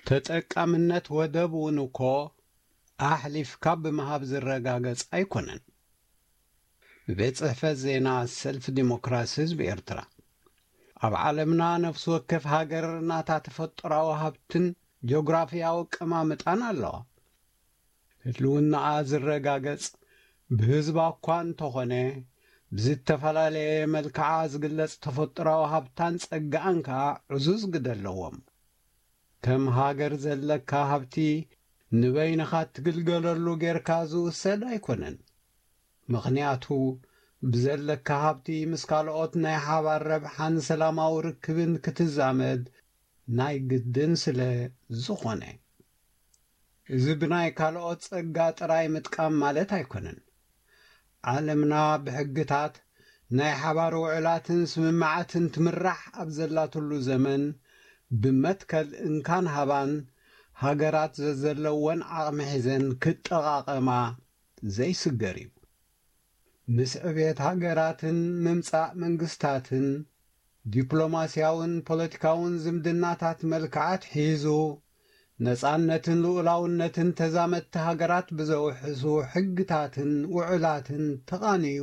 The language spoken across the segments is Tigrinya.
ተጠቃምነት ወደብ እውን እኮ ኣሕሊፍካ ብምሃብ ዝረጋገጽ ኣይኮነን። ቤት ጽሕፈት ዜና ሰልፊ ዲሞክራሲ ህዝቢ ኤርትራ። ኣብ ዓለምና ነፍሲ ወከፍ ሃገር ናታ ተፈጥሮኣዊ ሃብትን ጂኦግራፍያዊ ኣቀማምጣን ኣለዋ። ህልውናኣ ዝረጋገጽ ብህዝባ እኳ እንተኾነ፣ ብዝተፈላለየ መልክዓ ዝግለጽ ተፈጥሮኣዊ ሃብታን ጸጋኣን ከኣ ዕዙዝ ግደ ኣለዎም። ከም ሃገር ዘለካ ሃብቲ ንበይንኻ እትግልገለሉ ጌርካ ዝውሰድ ኣይኮነን። ምኽንያቱ፣ ብዘለካ ሃብቲ ምስ ካልኦት ናይ ሓባር ረብሓን ሰላማዊ ርክብን ክትዛመድ ናይ ግድን ስለ ዝኾነ። እዚ ብናይ ካልኦት ጸጋ ጥራይ ምጥቃም ማለት ኣይኮነን። ዓለምና ብሕግታት ናይ ሓባር ውዕላትን ስምምዓትን ትምራሕ ኣብ ዘላትሉ ዘመን፣ ብመትከል እንካን ሃባን ሃገራት ዘዘለወን ዓቕሚ ሒዘን ክጠቓቐማ ዘይስገር እዩ። ምስ ዕብየት ሃገራትን ምምጻእ መንግስታትን፣ ዲፕሎማስያውን ፖለቲካውን ዝምድናታት መልክዓት ሒዙ፣ ነጻነትን ልኡላውነትን ተዛመድቲ ሃገራት ብዘውሕሱ ሕግታትን ውዕላትን ተቓንዩ፣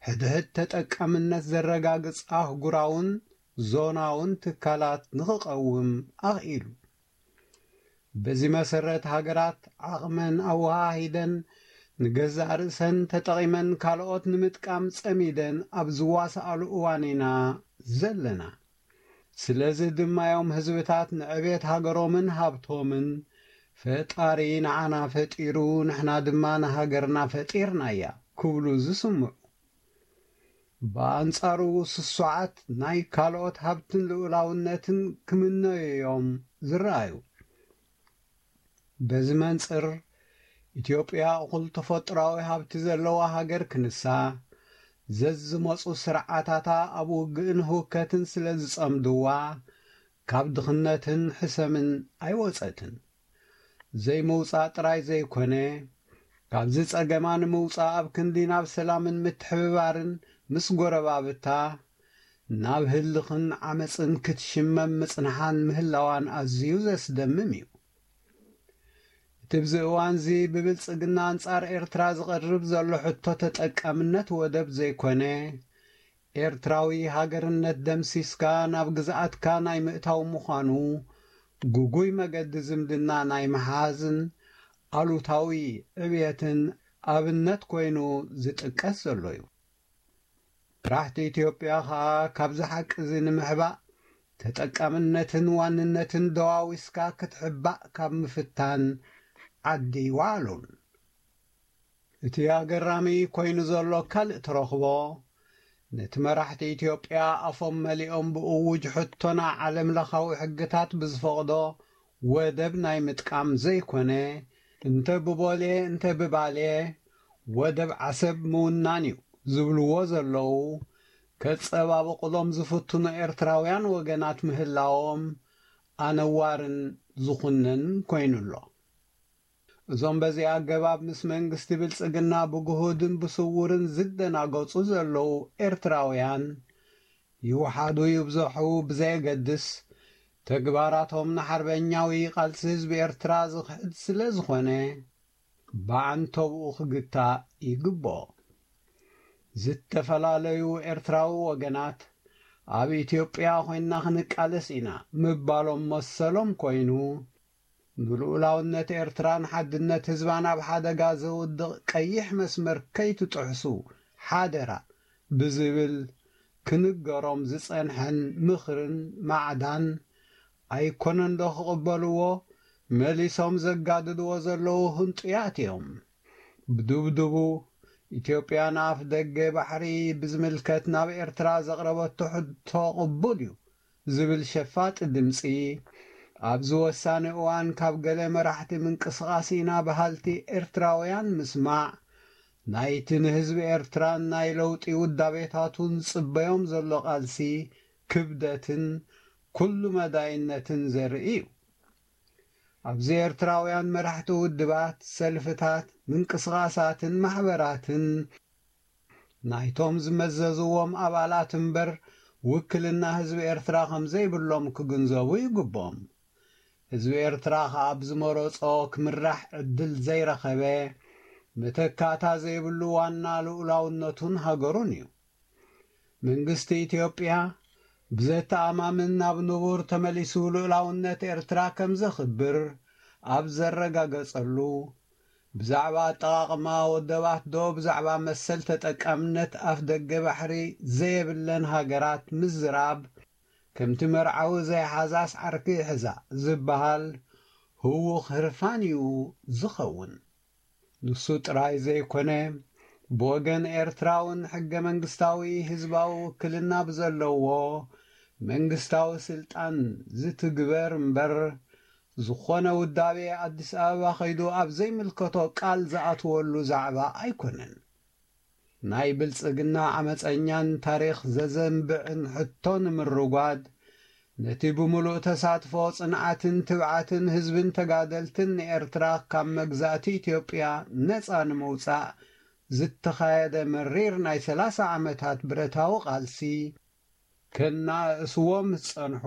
ሕድሕድ ተጠቃምነት ዘረጋግጽ ኣህጉራውን ዞናውን ትካላት ንኽቐውም ኣኽኢሉ። በዚ መሰረት፣ ሃገራት ዓቕመን ኣወሃሂደን ንገዛእ ርእሰን ተጠቒመን ካልኦት ንምጥቃም ጸሚደን ኣብ ዝዋስኣሉ እዋን ኢና ዘለና። ስለዚ ድማ እዮም ህዝብታት ንዕቤት ሃገሮምን ሃብቶምን፣ ፈጣሪ ንዓና ፈጢሩ፣ ንሕና ድማ ንሃገርና ፈጢርናያ ክብሉ ዝስምዑ። ብኣንጻሩ፣ ስሱዓት ናይ ካልኦት ሃብትን ልኡላውነትን ክምነዩ እዮም ዝረኣዩ። በዚ መንጽር፣ ኢትዮጵያ እኹል ተፈጥሮኣዊ ሃብቲ ዘለዋ ሃገር ክንሳ፣ ዘዝመጹ ስርዓታታ ኣብ ውግእን ህውከትን ስለ ዝጸምድዋ፣ ካብ ድኽነትን ሕሰምን ኣይወጸትን። ዘይምውጻእ ጥራይ ዘይኮነ፣ ካብዚ ጸገማ ንምውጻእ ኣብ ክንዲ ናብ ሰላምን ምትሕብባርን ምስ ጎረባብታ፣ ናብ ህልኽን ዓመጽን ክትሽመም ምጽንሓን ምህላዋን ኣዝዩ ዘስደምም እዩ። እቲ ብዚ እዋንዚ ብብልጽግና ኣንጻር ኤርትራ ዝቐርብ ዘሎ ሕቶ ተጠቃምነት ወደብ ዘይኮነ፣ ኤርትራዊ ሃገርነት ደምሲስካ ናብ ግዝኣትካ ናይ ምእታው ምዃኑ፣ ግጉይ መገዲ ዝምድና ናይ ምሓዝን ኣሉታዊ ዕብየትን ኣብነት ኮይኑ ዝጥቀስ ዘሎ እዩ። መራሕቲ ኢትዮጵያ ኸኣ ካብዚ ሓቂ እዚ ንምሕባእ፣ ተጠቃምነትን ዋንነትን ደዋዊስካ ክትሕባእ ካብ ምፍታን ዓዲ ይወዓሉን። እቲ ኣገራሚ ኮይኑ ዘሎ ካልእ ተረኽቦ፣ ነቲ መራሕቲ ኢትዮጵያ ኣፎም መሊኦም ብእዉጅ ሕቶና ዓለምለኻዊ ሕግታት ብዝፈቕዶ ወደብ ናይ ምጥቃም ዘይኮነ፣ እንተ ብቦሌ እንተ ብባሌ ወደብ ዓሰብ ምውናን እዩ ዝብልዎ ዘለዉ፣ ከጸባብቑሎም ዝፍትኑ ኤርትራውያን ወገናት ምህላዎም ኣነዋርን ዝኹነን ኮይኑ ኣሎ። እዞም በዚ ኣገባብ ምስ መንግስቲ ብልጽግና ብግሁድን ብስውርን ዝደናገጹ ዘለዉ ኤርትራውያን፣ ይውሓዱ ይብዝሑ ብዘየገድስ፣ ተግባራቶም ንሓርበኛዊ ቃልሲ ህዝቢ ኤርትራ ዝኽሕድ ስለ ዝኾነ፣ ብዓንተብኡ ክግታእ ይግብኦ። ዝተፈላለዩ ኤርትራዊ ወገናት፣ ኣብ ኢትዮጵያ ኮይንና ክንቃለስ ኢና ምባሎም መሰሎም ኮይኑ፣ ንልኡላውነት ኤርትራን ሓድነት ህዝባን ኣብ ሓደጋ ዘውድቕ ቀይሕ መስመር ከይትጥሕሱ ሓደራ ብዝብል ክንገሮም ዝጸንሐን ምኽርን ማዕዳን ኣይኮነን ዶ ክቕበልዎ? መሊሶም ዘጋድድዎ ዘለዉ ህንጡያት እዮም። ብድብድቡ፣ ኢትዮጵያ ንኣፍ ደገ ባሕሪ ብዝምልከት ናብ ኤርትራ ዘቕረበቶ ሕቶ ቅቡል እዩ ዝብል ሸፋጢ ድምጺ፣ ኣብዚ ወሳኒ እዋን ካብ ገለ መራሕቲ ምንቅስቓስ ኢና በሃልቲ ኤርትራውያን ምስማዕ፣ ናይቲ ንህዝቢ ኤርትራን ናይ ለውጢ ውዳቤታቱን ዝጽበዮም ዘሎ ቃልሲ ክብደትን ኩሉ መዳይነትን ዘርኢ እዩ። ኣብዚ ኤርትራውያን መራሕቲ ውድባት፣ ሰልፍታት፣ ምንቅስቓሳትን ማሕበራትን ናይቶም ዝመዘዝዎም ኣባላት እምበር፣ ውክልና ህዝቢ ኤርትራ ከም ዘይብሎም ክግንዘቡ ይግብኦም። ህዝቢ ኤርትራ ከኣ ብዝመረጾ ክምራሕ ዕድል ዘይረኸበ፣ መተካእታ ዘይብሉ ዋና ልኡላውነቱን ሃገሩን እዩ። መንግስቲ ኢትዮጵያ ብዘተኣማምን ናብ ንቡር ተመሊሱ ልኡላውነት ኤርትራ ከም ዘኽብር ኣብ ዘረጋገጸሉ፣ ብዛዕባ ኣጠቓቕማ ወደባት ዶ ብዛዕባ መሰል ተጠቃምነት ኣፍ ደገ ባሕሪ ዘየብለን ሃገራት ምዝራብ፣ ከምቲ መርዓዊ ዘይሓዛስ ዓርኪ ይሕዛ ዝበሃል ህዉኽ ህርፋን እዩ ዝኸውን። ንሱ ጥራይ ዘይኮነ፣ ብወገን ኤርትራ እውን ሕገ መንግስታዊ ህዝባዊ ውክልና ብዘለዎ መንግስታዊ ስልጣን ዝትግበር እምበር፣ ዝኾነ ውዳቤ ኣዲስ ኣበባ ከይዱ ኣብ ዘይምልከቶ ቃል ዝኣትወሉ ዛዕባ ኣይኮነን። ናይ ብልጽግና ዓመጸኛን ታሪኽ ዘዘንብዕን ሕቶ ንምርጓድ፣ ነቲ ብምሉእ ተሳትፎ፣ ጽንዓትን ትብዓትን ህዝብን ተጋደልትን ንኤርትራ ካብ መግዛእቲ ኢትዮጵያ ነጻ ንምውጻእ ዝተኻየደ መሪር ናይ ሰላሳ ዓመታት ብረታዊ ቃልሲ፣ ከናእስዎም ዝጸንሑ፣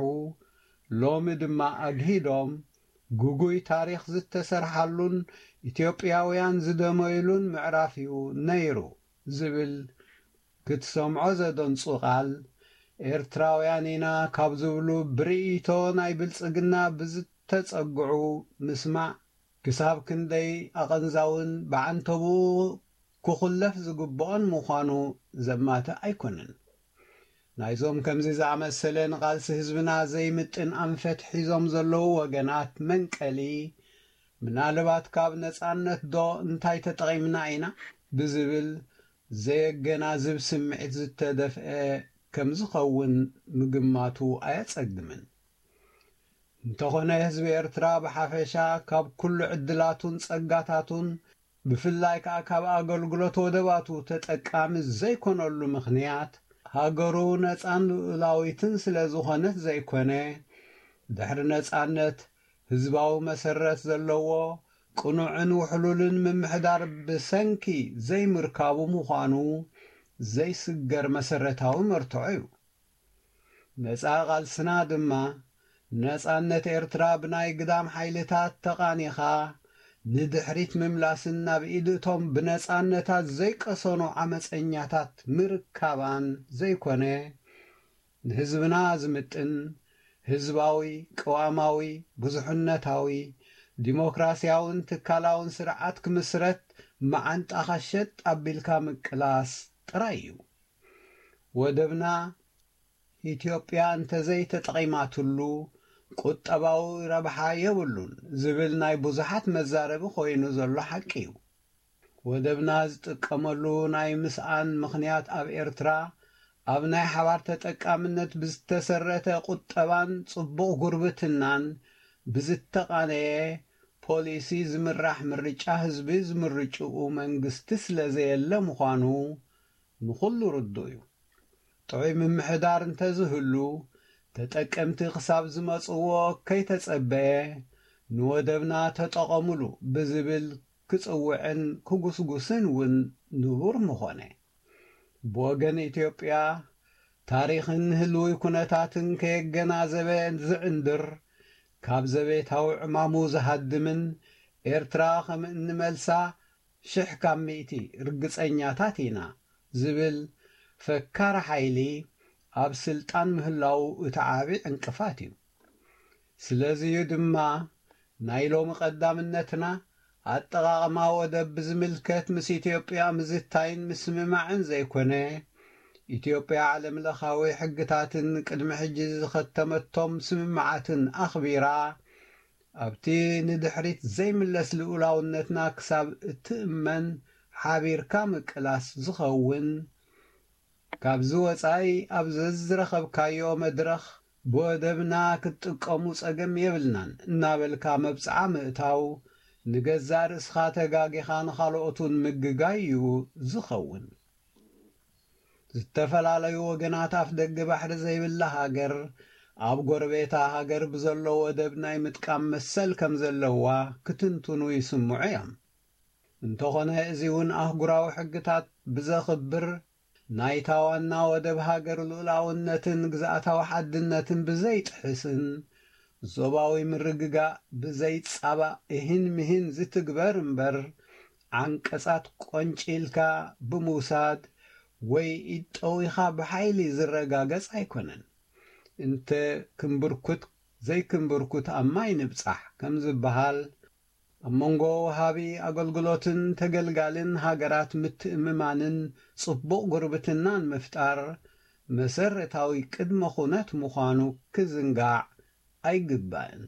ሎሚ ድማ ኣግሂዶም፣ ግጉይ ታሪኽ ዝተሰርሓሉን ኢትዮጵያውያን ዝደመዩሉን ምዕራፍ እዩ ነይሩ ዝብል ክትሰምዖ ዘደንጹ ቃል፣ ኤርትራውያን ኢና ካብ ዝብሉ ብርእይቶ ናይ ብልጽግና ብዝተጸግዑ ምስማዕ፣ ክሳብ ክንደይ ኣቐንዛውን ብዓንተቡ ክኹለፍ ዝግብኦን ምዃኑ ዘማትእ ኣይኮነን። ናይዞም ከምዚ ዝኣመሰለ ንቓልሲ ህዝብና ዘይምጥን ኣንፈት ሒዞም ዘለዉ ወገናት መንቀሊ፣ ምናልባት ካብ ነጻነት ዶ እንታይ ተጠቒምና ኢና ብዝብል ዘየገናዝብ ስምዒት ዝተደፍአ ከም ዝኸውን ምግማቱ ኣየጸግምን። እንተኾነ፣ ህዝቢ ኤርትራ ብሓፈሻ ካብ ኩሉ ዕድላቱን ጸጋታቱን፣ ብፍላይ ከኣ ካብ ኣገልግሎት ወደባቱ ተጠቃሚ ዘይኮነሉ ምኽንያት፣ ሃገሩ ነጻን ልኡላዊትን ስለ ዝኾነት ዘይኮነ፣ ድሕሪ ነጻነት ህዝባዊ መሰረት ዘለዎ ቅኑዕን ውሕሉልን ምምሕዳር ብሰንኪ ዘይምርካቡ ምዃኑ ዘይስገር መሰረታዊ መርትዖ እዩ። ነጻ ቃልስና ድማ፣ ነጻነት ኤርትራ ብናይ ግዳም ሓይልታት ተቓኒኻ ንድሕሪት ምምላስን ናብ ኢድ እቶም ብነጻነታት ዘይቀሰኑ ዓመጸኛታት ምርካባን ዘይኮነ፣ ንህዝብና ዝምጥን ህዝባዊ፣ ቅዋማዊ፣ ብዙሕነታዊ፣ ዲሞክራስያውን ትካላውን ስርዓት ክምስረት መዓንጣኻ ሸጥ ኣቢልካ ምቅላስ ጥራይ እዩ። ወደብና ኢትዮጵያ እንተዘይተጠቒማትሉ ቁጠባዊ ረብሓ የብሉን ዝብል ናይ ብዙሓት መዛረቢ ኮይኑ ዘሎ ሓቂ እዩ። ወደብና ዝጥቀመሉ ናይ ምስኣን ምኽንያት ኣብ ኤርትራ ኣብ ናይ ሓባር ተጠቃምነት ብዝተሰረተ ቁጠባን ጽቡቕ ጉርብትናን ብዝተቓነየ ፖሊሲ ዝምራሕ ምርጫ ህዝቢ ዝምርጭኡ መንግስቲ ስለ ዘየለ ምዃኑ ንኹሉ ርዱእ እዩ። ጥዑይ ምምሕዳር እንተዝህሉ፣ ተጠቀምቲ ክሳብ ዝመጽዎ ከይተጸበየ፣ ንወደብና ተጠቐሙሉ ብዝብል ክጽውዕን ክጉስጉስን እውን ንቡር ምኾነ። ብወገን ኢትዮጵያ፣ ታሪኽን ህልዊ ኩነታትን ከየገናዘበ ዝዕንድር፣ ካብ ዘቤታዊ ዕማሙ ዝሃድምን ኤርትራ ከም እንመልሳ ሽሕ ካብ ሚእቲ ርግጸኛታት ኢና ዝብል ፈካሪ ሓይሊ ኣብ ስልጣን ምህላዉ እቲ ዓቢ ዕንቅፋት እዩ። ስለዚዩ ድማ ናይ ሎሚ ቀዳምነትና ኣጠቓቕማ ወደብ ብዝምልከት ምስ ኢትዮጵያ ምዝታይን ምስምማዕን ዘይኮነ፣ ኢትዮጵያ ዓለም ለኻዊ ሕግታትን ቅድሚ ሕጂ ዝኸተመቶም ስምምዓትን ኣኽቢራ፣ ኣብቲ ንድሕሪት ዘይምለስ ልኡላውነትና ክሳብ እትእመን ሓቢርካ ምቅላስ ዝኸውን፣ ካብዚ ወጻኢ ኣብ ዘዝረኸብካዮ መድረኽ ብወደብና ክትጥቀሙ ጸገም የብልናን እናበልካ መብጽዓ ምእታው፣ ንገዛእ ርእስኻ ተጋጊኻ ንኻልኦት እውን ምግጋይ እዩ ዝኸውን። ዝተፈላለዩ ወገናት ኣፍ ደገ ባሕሪ ዘይብላ ሃገር፣ ኣብ ጎረቤታ ሃገር ብዘሎ ወደብ ናይ ምጥቃም መሰል ከም ዘለዋ ክትንትኑ ይስምዑ እዮም። እንተኾነ፣ እዚ እውን ኣህጉራዊ ሕግታት ብዘኽብር፣ ናይታ ዋና ወደብ ሃገር ልኡላውነትን ግዝኣታዊ ሓድነትን ብዘይጥሕስን፣ ዞባዊ ምርግጋእ ብዘይ ጻባ እሂን ምሂን ዝትግበር እምበር፣ ዓንቀጻት ቆንጪልካ ብምውሳድ ወይ ኢድ ጠዊኻ ብሓይሊ ዝረጋገጽ ኣይኮነን። እንተ ክንብርኩት ዘይክንብርኩት ኣብ ማይ ንብጻሕ ከም ዝበሃል፣ ኣብ መንጎ ወሃቢ ኣገልግሎትን ተገልጋልን ሃገራት ምትእምማንን ጽቡቕ ጉርብትናን ምፍጣር መሰረታዊ ቅድመ ኩነት ምዃኑ ክዝንጋዕ ኣይግባእን።